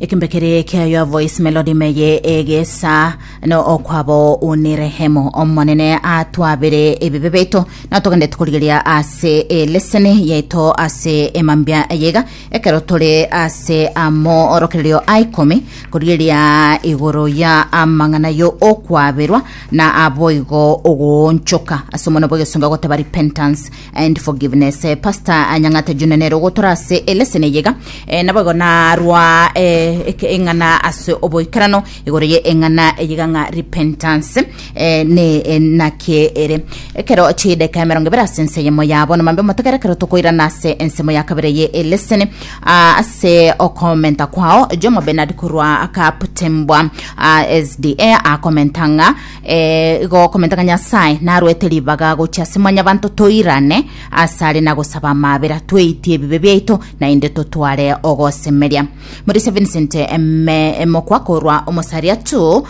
Ekembe kere kia Your Voice Melody meye egesa no okwabo unirehemu omonene atwabere ebibe beito na togende tukorigeria ase eleseni yaito ase emambia eyega ekero tore ase amo orokererio a ikomi korigeria igoro ya amang'ana yo okwaberwa na aboigo ogoonchoka ase omono bw'egesongo agoteba repentance and forgiveness. Eh, Pastor Anyang'ate Junior nere ogotora ase eleseni eyega eh, naboigo narwa eh, eke- eng'ana ase oboikerano igoro ye eng'ana eyega ng'a repentance eh, ne eh, naki ere ekero chideka emerongo ebere ase ense eyemo yabo nomambe omotegere ekero tokoirana ase ensemo ya kabere ye eleseni ah, ase okomenta kwao Jomo Bernard korwa Kaptembwa ah, SDA akomenta ng'a Eh, igo okomenta ng'a Nyasae narwete ribaga gochia ase mwanyabanto toirane asare na gosaba amabera tweitie ebibe biaito naende totware ogosemeria. Morisia Vincent eme emokwa korwa omosaria tu.